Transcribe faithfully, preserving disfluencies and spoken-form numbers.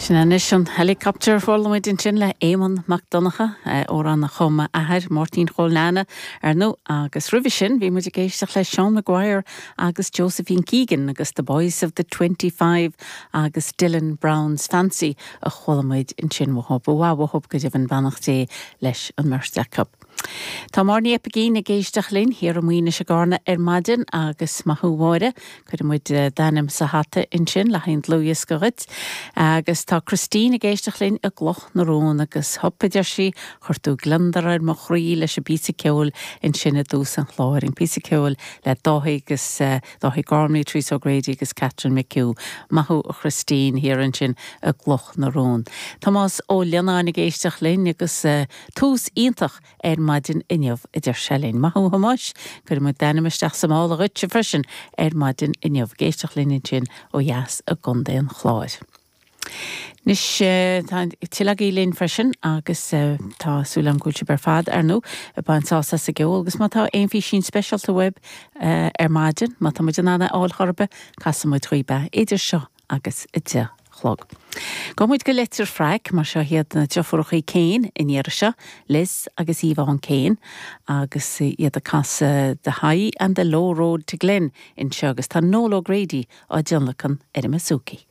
Sin anois an helicopter chuala muid ansin le Éamonn Mac Donncha amhrán a chum a athair Máirtín Chóil Nana ar ndóigh agus roimhe sin bhí muid ag éisteacht le Seán Maguire agus Josephine Keegan agus the Boys of the Twenty Five agus Dylan Brown's Fancy a chuala muid ansin uathu uathu go deimhin beannacht Dé leis an mbeirt acu. Tá Máire Ní Oipeigín ag éisteacht linn thiar i Maoinis i gCarna ar maidin agus maith thú a Mháire, cuirfidh muid d'ainm sa hata ansin le haghaidh dlúthdhiosca dhuit agus tá Christine ag éisteacht linn i gCloch na Rón agus hup a deir sí chuir tú gliondar ar mo chroí leis an bpíosa ceoil ansin i dtús an chláir an píosa ceoil le Dáithí agus uh, Dáithí Gormley, Teresa O'Grady agus Catherine McHugh. Maith thú a Christine thiar ansin i gCloch na Rón. Tomás Ó Lionáin ag éisteacht linn agus uh, tús iontach ar maidin inniu a deir sé linn. Maith thú a Thomáis, cuirfidh muid d'ainm isteach sa mála dhuit freisin ar maidin inniu ag éisteacht linn ansin ó dheas i gContae an Chláir. Anois tá tuilleadh linn freisin agus tá súil agam go bhfuil sibh ar fad ar ndóigh ag baint sásamh as an gceol agus má tá aon fhísín speisialta uaibh ar maidin, má tá muid in ann é a fháil chor ar bith, casfaidh muid daoibh é idir seo agus a deich a chlog. Gabhfaidh muid go Leitir Fraic mar seo iad na deirfiúracha Kane an iarraidh seo, Liz agus Yvonne Kane agus iad ag casadh The High and the Low Road to Glen anseo agus tá Noel O'Grady á dtionlacan ar an mbouzouki.